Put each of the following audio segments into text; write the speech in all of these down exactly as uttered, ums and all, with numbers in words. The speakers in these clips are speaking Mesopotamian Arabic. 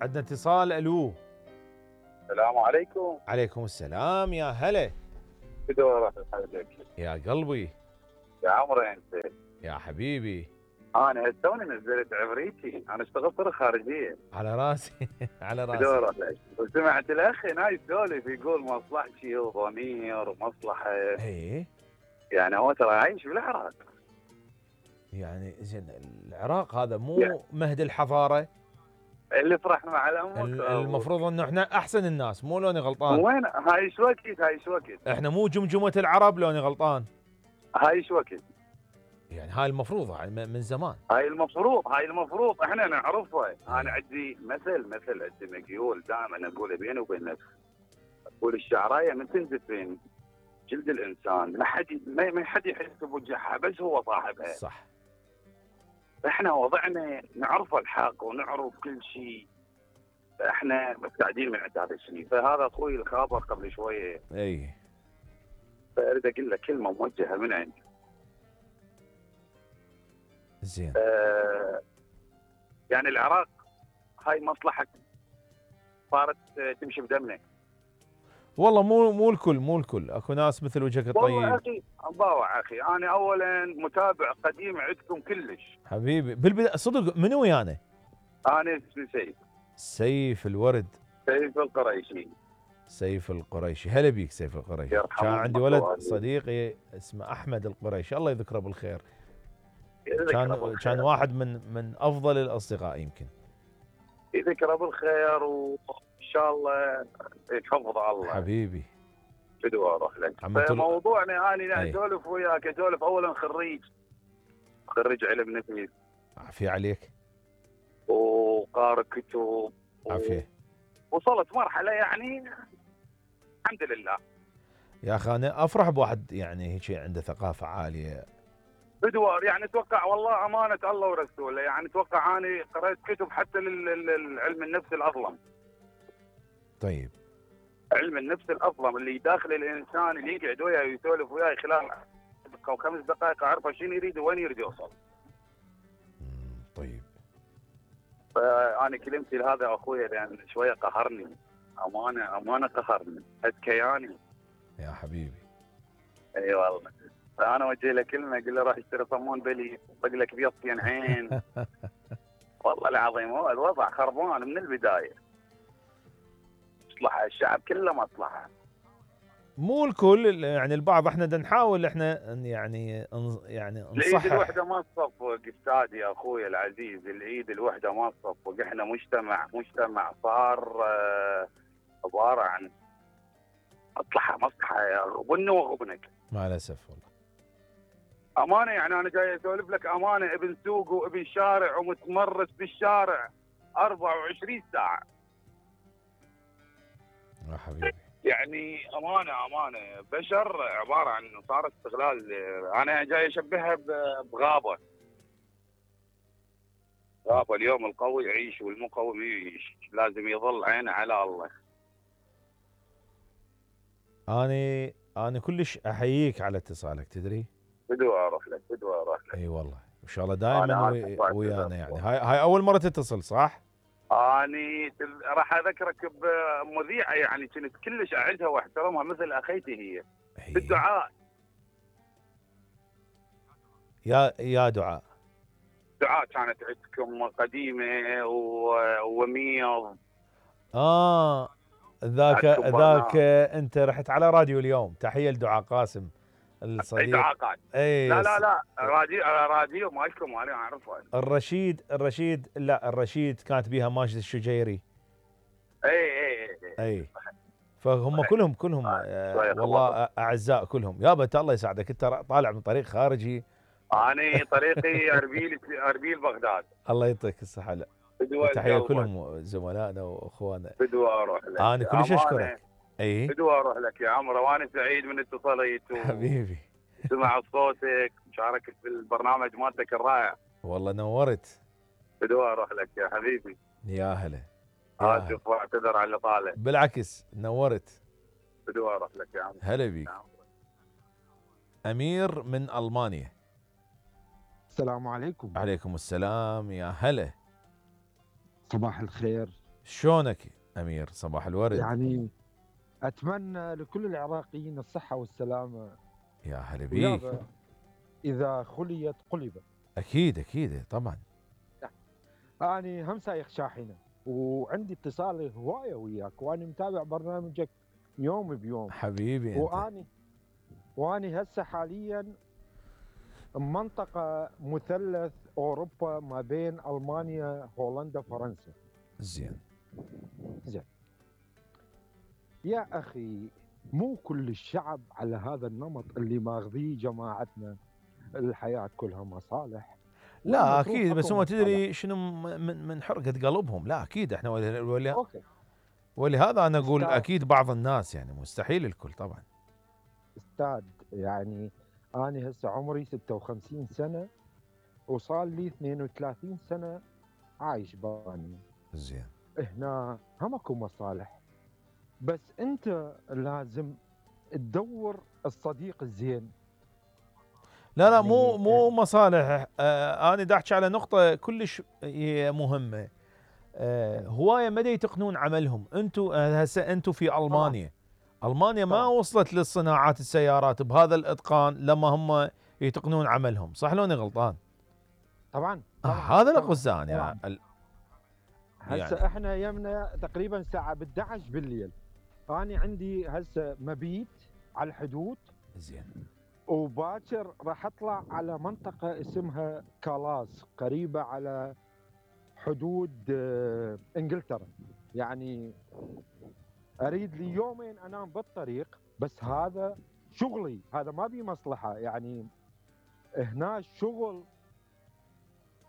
عندنا اتصال. الو. السلام عليكم. عليكم السلام يا هلا. بدور حضرتك يا قلبي. يا عمري انت. يا حبيبي. انا توني نزلت عفريتي، انا اشتغلت طرق خارجيه. على راسي على راسي. بدور عليك وسمعت الاخ هنا يسولف يقول مصلحتي وضمير ومصلحه. ايه يعني هو ترى عايش بالعراق. يعني زين العراق هذا مو يعني. مهد الحضاره اللي فرحنا مع الامك. المفروض انه احنا احسن الناس، مو لوني غلطان؟ وين هاي ايش وقت هاي ايش وقت؟ احنا مو جمجمه العرب لوني غلطان؟ هاي ايش وقت؟ يعني هاي المفروض من زمان. هاي المفروض هاي المفروض احنا نعرفها. انا عندي مثل مثل عندي مقيول دائما اقوله بيني وبين نفسي. اقول الشعرايه من تندفن جلد الانسان ما حد ما حد يحس بوجهها بس هو صاحبها. صح. احنا وضعنا نعرف الحق ونعرف كل شيء. احنا مبتعدين من عند هذا الشيء، فهذا اخوي الخابر قبل شويه. اي. فاريد اقول له كلمه موجهه من عندي. زين. آه يعني العراق هاي مصلحه صارت تمشي بدمنا. والله مو مو الكل مو الكل، اكو ناس مثل وجهك الطيب. والله اخي باوع اخي، انا اولا متابع قديم عندكم كلش حبيبي. بالبدايه صدق منو ويانا؟ انا اسمي سيف. سيف الورد. سيف القريشي. سيف القريشي. هلا بيك سيف القريشي. كان عندي ولد صديقي اسمه احمد القريشي، الله يذكره بالخير. كان كان واحد من من افضل الاصدقاء يمكن. يذكره بالخير وان شاء الله يحفظ الله. حبيبي. بدو اروح لك. موضوعنا انا اسولف وياك، اسولف اولا خريج خريج علم نفس. عافيه عليك. وقارئ كتب. عافيه. وصلت مرحله يعني الحمد لله. يا اخي انا افرح بواحد يعني هيك عنده ثقافه عاليه. بدوار يعني اتوقع والله امانه الله ورسوله، يعني اتوقع اني قرأت كتب حتى للعلم النفس الاظلم. طيب. علم النفس الاظلم اللي داخل الانسان اللي يقعد وياه ويسولف وياه خلال دقيقه وخمس دقائق اعرف شنو يريد وين يريد يوصل. طيب. فانا كلمتي لهذا اخوي لان شويه قهرني، امانه امانه قهرني كياني. يا حبيبي. اي والله. فانا وجه له كلمه اقول له روح اشتري صمون بلي طق لك بيضتين عين. والله العظيم هو الوضع خربان من البدايه. مصلحه الشعب كله مصلحه. مو الكل يعني البعض. احنا بدنا نحاول احنا يعني يعني نصحح. العيد الوحده ما تصفق استاذ يا اخوي العزيز، العيد الوحده ما تصفق. احنا مجتمع مجتمع صار عباره عن مصلحه مصلحه غبن وغبنك. مع الاسف والله. امانه يعني انا جاي اسولف لك امانه، ابن سوق وابن شارع ومتمرس بالشارع أربعة وعشرين ساعه. يا حبيبي. يعني امانه امانه بشر عباره عن صار استغلال. انا جاي اشبهها بغابه. غابه اليوم القوي يعيش والمقوي يعيش، لازم يظل عينه على الله. اني انا كلش احييك على اتصالك تدري؟ بدو اروح لك بدو اروح لك. اي والله ان شاء الله دائما ويانا. يعني هاي هاي اول مره تتصل صح؟ اني راح اذكرك بمذيعه يعني كنت كلش اعزها واحترمها مثل اخيتي هي. بالدعاء. يا يا دعاء. دعاء كانت عندكم قديمه وميض. اه ذاك ذاك انت رحت على راديو اليوم. تحيه لدعاء قاسم الصديق. دعاء قاسم. اي لا لا لا راديو راديو مالكم انا اعرفه. الرشيد الرشيد لا الرشيد كانت بيها ماجد الشجيري. اي اي اي, أي. فهم كلهم كلهم آه والله اعزاء كلهم. يابا الله يساعدك انت طالع من طريق خارجي. انا طريقي اربيل اربيل بغداد. الله يعطيك الصحه. لا تحيه كلهم زملائنا واخواننا. بدو اروح لك. انا كلش اشكرك. اي بدو اروح لك يا عمرو وانا سعيد من اتصاليت. حبيبي. سمع صوتك مشاركة في البرنامج مالتك الرائع. والله نورت. بدو اروح لك يا حبيبي. يا هلا. اسف واعتذر على اللي طالع. بالعكس نورت. بدو اروح لك يا عمرو. هلا بيك. امير من المانيا. السلام عليكم. عليكم السلام يا هلا. صباح الخير. شلونك امير؟ صباح الورد. يعني اتمنى لكل العراقيين الصحه والسلامه. يا هلا بيك. ويابا اذا خليت قلبت. اكيد اكيد طبعا. اني هم سايق شاحنه وعندي اتصال هوايه وياك، واني متابع برنامجك يوم بيوم حبيبي انت. واني واني هسه حاليا منطقه مثلث اوروبا ما بين المانيا هولندا فرنسا. زين زين يا اخي، مو كل الشعب على هذا النمط اللي ماخذيه جماعتنا، الحياه كلها مصالح. لا اكيد، بس هم تدري شنو من من حرقه قلبهم. لا اكيد احنا ولي ولي اوكي. ولهذا انا اقول اكيد بعض الناس، يعني مستحيل الكل طبعا. استاذ يعني انا هسه عمري ستة وخمسين سنه وصار لي اثنين وثلاثين سنه عايش باني. زين. هنا هم اكو مصالح، بس انت لازم تدور الصديق الزين. لا لا مو مو مصالح. آه انا دا احكي على نقطه كلش هي مهمه. آه هوايه ما يتقنون عملهم. انتم هسه انتم في المانيا. طبعا. المانيا ما طبعا. وصلت للصناعات السيارات بهذا الاتقان لما هم يتقنون عملهم، صح لو اني غلطان؟ طبعا, طبعا. آه هذا اللي قصدي انا يعني. ال... هسه يعني. احنا يمنا تقريبا الساعه احد عشر بالليل. انا عندي هسه مبيت على الحدود. زين. وباكر راح اطلع على منطقه اسمها كالاس قريبه على حدود انجلترا. يعني اريد لي يومين انام بالطريق، بس هذا شغلي، هذا ما بي مصلحه. يعني هنا الشغل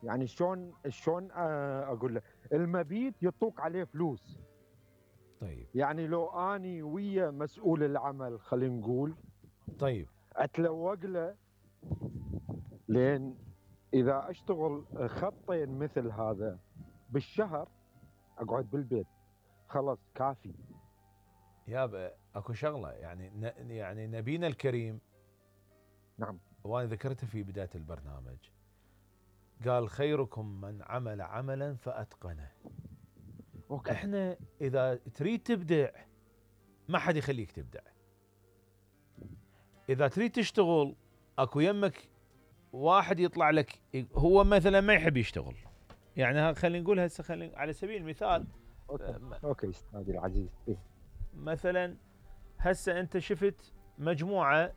يعني شلون شلون اقول لك، المبيت يطوق عليه فلوس. طيب. يعني لو اني ويا مسؤول العمل خلينا نقول، طيب، اتلوق له، لين اذا اشتغل خطين مثل هذا بالشهر اقعد بالبيت خلاص كافي. يابا اكو شغله يعني ن... يعني نبينا الكريم. نعم. وانا ذكرتها في بدايه البرنامج. قال خيركم من عمل عملا فاتقنه. أوكي. احنا اذا تريد تبدع ما حد يخليك تبدع. اذا تريد تشتغل اكو يمك واحد يطلع لك هو مثلا ما يحب يشتغل. يعني خلينا نقول هسه خلينا على سبيل المثال. اوكي اوكي استاذي العزيز. إيه؟ مثلا هسه انت شفت مجموعه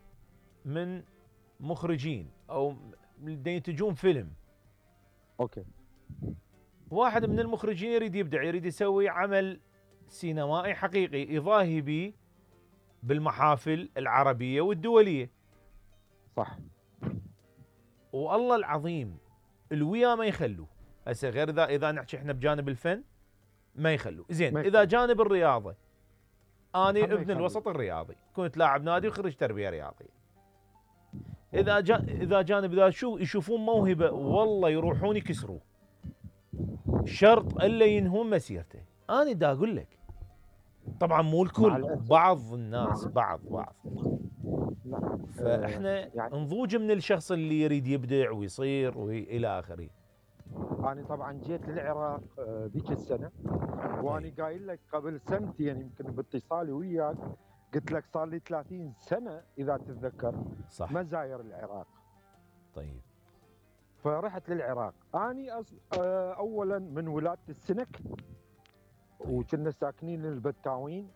من مخرجين او ينتجون فيلم. اوكي. واحد من المخرجين يريد يبدع، يريد يسوي عمل سينمائي حقيقي يضاهي به بالمحافل العربيه والدوليه. صح. والله العظيم الويا ما يخلوا. هسه غير اذا اذا نحكي احنا بجانب الفن ما يخلوا. زين اذا جانب الرياضه، اني ابن الوسط الرياضي، كنت لاعب نادي وخريج تربيه رياضيه. اذا جا اذا جانب اذا شو يشوفون موهبه والله يروحون يكسروه، شرط الا ينهون مسيرته. انا دا اقول لك طبعا مو الكل، بعض الناس بعض بعض فاحنا يعني نضوج من الشخص اللي يريد يبدع ويصير والى اخره. انا طبعا جيت للعراق ذيك السنه، واني قايل لك قبل سنتين يمكن باتصالي وياك قلت لك صار لي ثلاثين سنه اذا تتذكر. صح. ما زاير العراق. طيب. فرحت للعراق. اني أص... اولا من ولاده السنك. طيب. وكنا ساكنين البتاوين.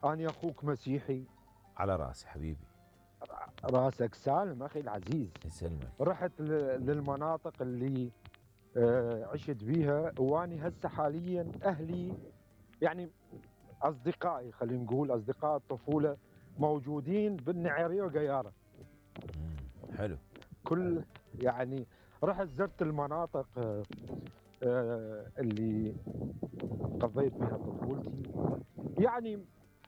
اني اخوك مسيحي. على راسي حبيبي. راسك سالم اخي العزيز. يسلمك. رحت للمناطق اللي عشت بيها، واني هسه حاليا اهلي يعني اصدقائي خلينا نقول اصدقاء الطفوله موجودين بالنعيريه وقياره. حلو. كل يعني رحت زرت المناطق اللي قضيت بها طفولتي. يعني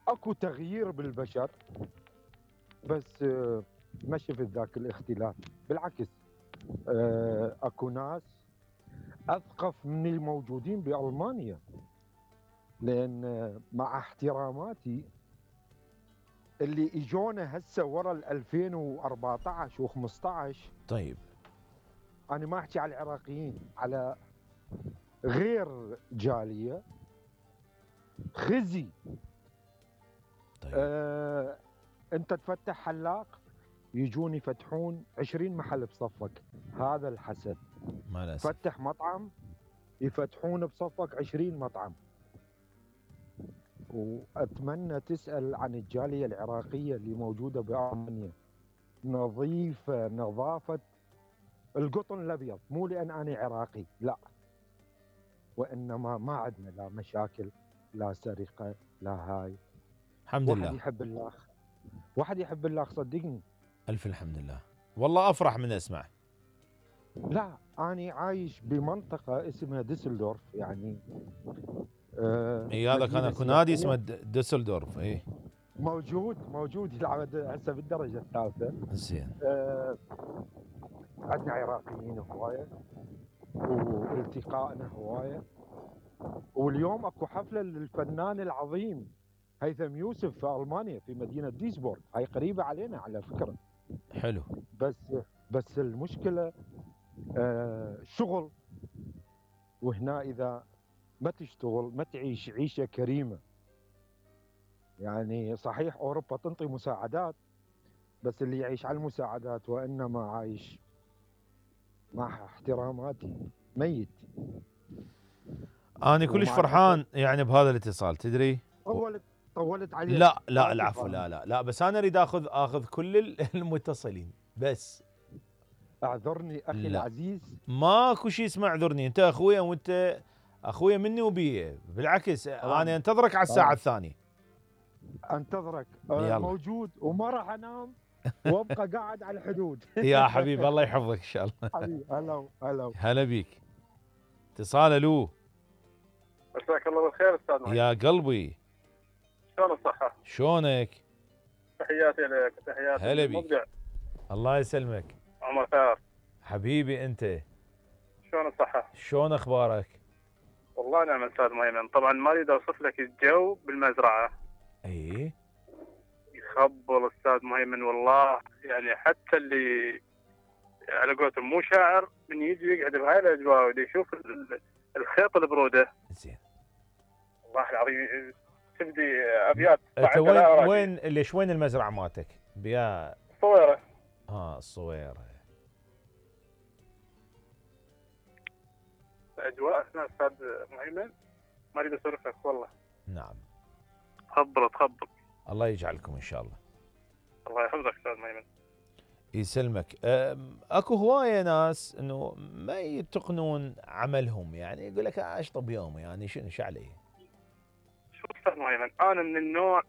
اكو تغيير بالبشر، بس ما شفت ذاك الاختلاف. بالعكس اكو ناس اثقف من الموجودين بالمانيا، لان مع احتراماتي اللي اجونا هسه ورا ال ألفين وأربعطعش وخمسطعش. طيب. انا ما احكي على العراقيين، على غير جاليه. خزي. طيب. آه انت تفتح حلاق يجون يفتحون عشرين محل بصفك، هذا الحسد. ما للاسف. فتح مطعم يفتحون بصفك عشرين مطعم. واتمنى تسال عن الجاليه العراقيه اللي موجوده بالمانيا، نظيفه نظافه القطن الابيض، مو لان انا عراقي لا، وانما ما عندنا لا مشاكل لا سرقه لا هاي. الحمد واحد لله. يحب الله، واحد يحب الله صدقني. الف الحمد لله، والله افرح من اسمع. لا انا عايش بمنطقه اسمها ديسلدورف يعني. آه اي هذا كان مدينة اكو نادي سياحية. اسمه د- دوسلدورف. اي موجود موجود يلعب هسه بالدرجه الثالثه. زين. آه عندنا عراقيين هوايه والتقائنا هوايه. واليوم اكو حفله للفنان العظيم هيثم يوسف في المانيا في مدينه ديسبورغ، هاي قريبه علينا على فكره. حلو. بس بس المشكله آه شغل، وهنا اذا ما تشتغل ما تعيش عيشه كريمه. يعني صحيح اوروبا تنطي مساعدات، بس اللي يعيش على المساعدات وانما عايش مع احتراماتي ميت. انا كلش ومع فرحان يعني بهذا الاتصال تدري. طولت طولت عليك. لا لا آسف العفو، أنا. لا لا لا بس انا اريد اخذ اخذ كل ال- المتصلين بس. اعذرني اخي لا. العزيز. ماكو شيء اسمه اعذرني، انت اخويا وانت اخويا مني وبيه، بالعكس طبعاً. انا انتظرك على الساعه طبعاً. الثانيه. انتظرك. آه يلا. موجود وما راح انام وابقى قاعد على الحدود. يا حبيبي الله يحفظك ان شاء الله. حبيبي هلا هلا. هلا بيك. اتصال الو. مساك الله بالخير استاذ محمد. يا قلبي شلون الصحة؟ شلونك؟ تحياتي لك تحياتي هلا بيك. للمبدع الله يسلمك عمر خير. حبيبي. انت شلون الصحة؟ شلون اخبارك؟ والله نعم استاذ مهيمن، طبعا ما اريد اوصف لك الجو بالمزرعة. اي يخبل استاذ مهيمن والله، يعني حتى اللي على قولتهم مو شاعر من يجي يقعد بهاي الاجواء ودي يشوف ال- الخيط البرودة، زين. والله العظيم تبدي ابيات. انت وين وين ليش وين المزرعه مالتك؟ بيا صويرة. اه الصويره. اجواء هنا استاذ مهيمن ما اريد اسولف لك والله. نعم. تخبل تخبل. الله يجعلكم ان شاء الله. الله يحفظك استاذ مهيمن. يسلمك. أم، اكو هوايه ناس انه ما يتقنون عملهم، يعني يقول لك اشطب يومي يعني شنو شو علي. شوف استاذ مهيمن، انا من النوع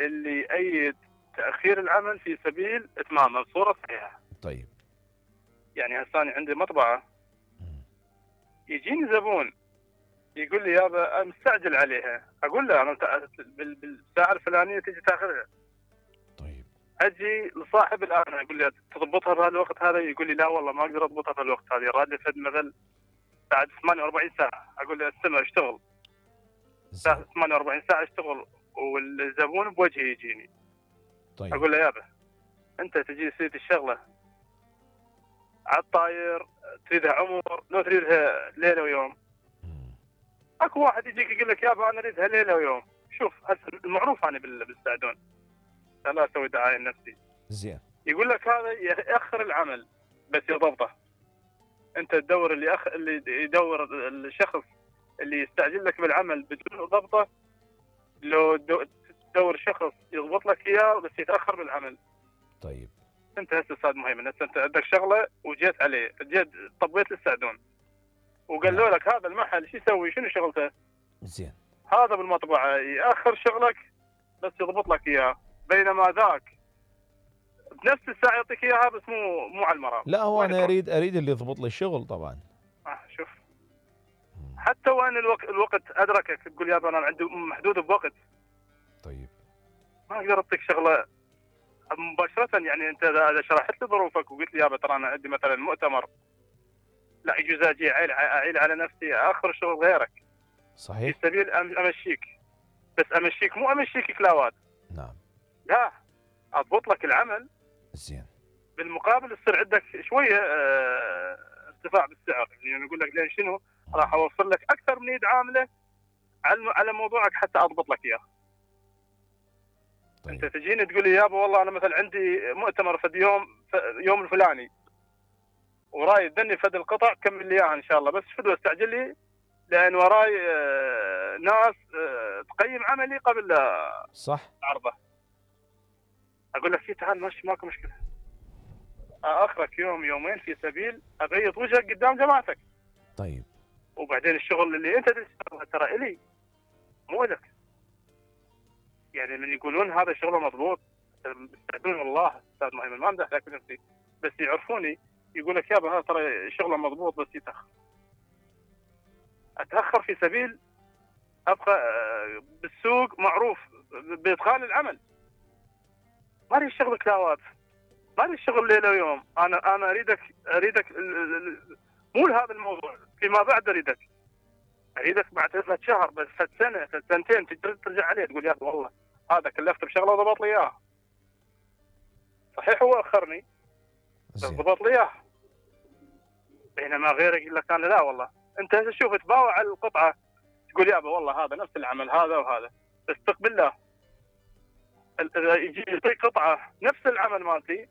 اللي يأيد تاخير العمل في سبيل اتمامه بصوره صحيحه. طيب. يعني هسه أنا عندي مطبعه يجيني زبون يقول لي يابا أنا مستعجل عليها، اقول له انا تع- بال- بالساعه الفلانيه تجي تاخذها. طيب. اجي لصاحب الان اقول له تضبطها بهالوقت هذا، يقول لي لا والله ما اقدر اضبطها بهالوقت هذا، راد لي فد مثل بعد ثمانية وأربعين ساعه، اقول له استمر اشتغل. زين. ثمانية وأربعين ساعه اشتغل والزبون بوجهي يجيني. طيب. اقول له يابا انت تجي تريد الشغله على الطاير، تريدها عمر لو تريدها ليله ويوم. مم. اكو واحد يجيك يقول لك يابا انا اريدها ليله ويوم. شوف هسه المعروف انا بال- بالسعدون، لا اسوي دعايه لنفسي. زين. يقول لك هذا ياخر العمل بس يضبطه. انت تدور اللي أخ... اللي يدور الشخص اللي يستعجل لك بالعمل بدون ضبطه، لو دو... تدور شخص يضبط لك اياه بس يتاخر بالعمل. طيب. انت هسه استاذ مهيمن، هسه انت عندك شغله وجيت عليه، جيت طبيت للسعدون وقالوا لك هذا المحل شو يسوي شنو شغلته؟ زين. هذا بالمطبعه ياخر شغلك بس يضبط لك اياه، بينما ذاك بنفس الساعه يعطيك اياها بس مو مو على المرام. لا هو وين انا تروح؟ اريد اريد اللي يضبط لي الشغل طبعا. آه شوف مم. حتى وين الوقت الوقت ادركك تقول يابا انا عندي محدود بوقت، طيب. ما اقدر اعطيك شغله مباشره. يعني انت اذا شرحت لي ظروفك وقلت لي يابا ترى انا عندي مثلا مؤتمر، لا يجوز اجي اعيل اعيل على نفسي اخر الشغل غيرك في صحيح. سبيل أم- امشيك، بس امشيك مو امشيك كلاوات، نعم. لا اضبط لك العمل زين. بالمقابل يصير عندك شويه اه ارتفاع بالسعر. يعني انا اقول لك لين شنو راح اوفر لك اكثر من يد عامله على على موضوعك حتى اضبط لك اياه. طيب. انت تجيني تقول لي يابا والله انا مثلا عندي مؤتمر في يوم يوم الفلاني وراي تدني فد القطع كمل لي اياها ان شاء الله، بس فدوه استعجل لي لان وراي آه ناس آه تقيم عملي قبل لا صح. عرضه. اقول لك تعال ماشي ماكو مشكله، اخرك يوم يومين في سبيل ابيض وجهك قدام جماعتك. طيب. وبعدين الشغل اللي انت تشتغله ترى الي مو لك. يعني من يقولون هذا شغله مضبوط يستعدون والله استاذ مهيمن ما امدح لك نفسي، بس يعرفوني يقول لك يابا هذا ترى شغله مضبوط بس يتاخر. اتاخر في سبيل ابقى بالسوق معروف بادخال العمل. ما اريد شغل كلاوات، ما اريد شغل ليله ويوم، انا انا اريدك اريدك مو هذا الموضوع، فيما بعد اريدك اريدك بعد ثلاث شهر بس ثلاث سنه ثلاث سنتين ترجع عليه تقول يا والله هذا كلفت بشغله وضبط لي اياها. صحيح هو اخرني بس ضبط لي اياها. بينما غيرك يقول لك انا لا والله انت شوف تباوع على القطعه تقول يابا والله هذا نفس العمل هذا وهذا، بس تقبل له يجي يعطيك قطعه نفس العمل مالتي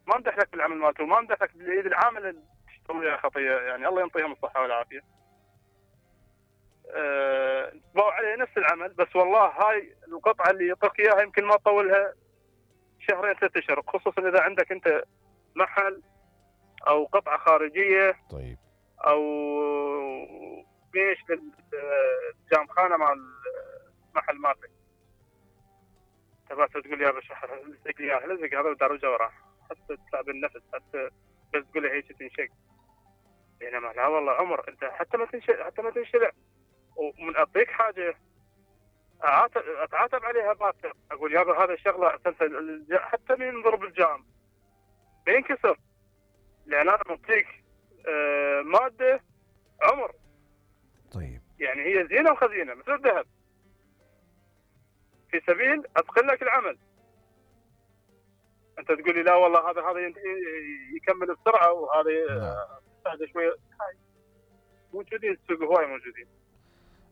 ما امدح لك بالعمل مالته وما امدح لك بالايد العامل اللي تشتغل وياه خطيه، يعني الله ينطيهم الصحه والعافيه. أه تباوع عليه نفس العمل بس والله هاي القطعه اللي يعطيك اياها يمكن ما تطولها شهرين ثلاث اشهر، خصوصا اذا عندك انت محل او قطعه خارجيه. طيب. او بيش للجامخانه مال المحل مالتك تبعت تقول يا باشا لزق لي اياها لزق هذا ودار وراه حتى تطلع بالنفس حتى بس تقول هيك تنشق. بينما لا والله عمر انت حتى ما تنشق حتى ما تنشلع ومن اعطيك حاجه اتعاتب عليها باكر اقول يابا هذا الشغله حتى من ينضرب الجام بينكسر لان انا معطيك آه ماده عمر. طيب. يعني هي زينه وخزينه مثل الذهب في سبيل اتقن لك العمل. انت تقول لي لا والله هذا هذا يكمل بسرعه وهذا يستهدى شويه. موجودين السوق هواي موجودين.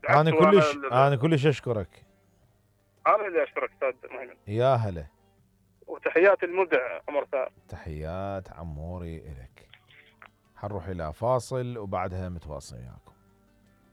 انا كلش انا كلش اشكرك. انا اللي اشكرك استاذ مهيمن. يا هلا. وتحيات المبدع عمر ثار. تحيات عموري الك. حنروح الى فاصل وبعدها متواصل وياكم.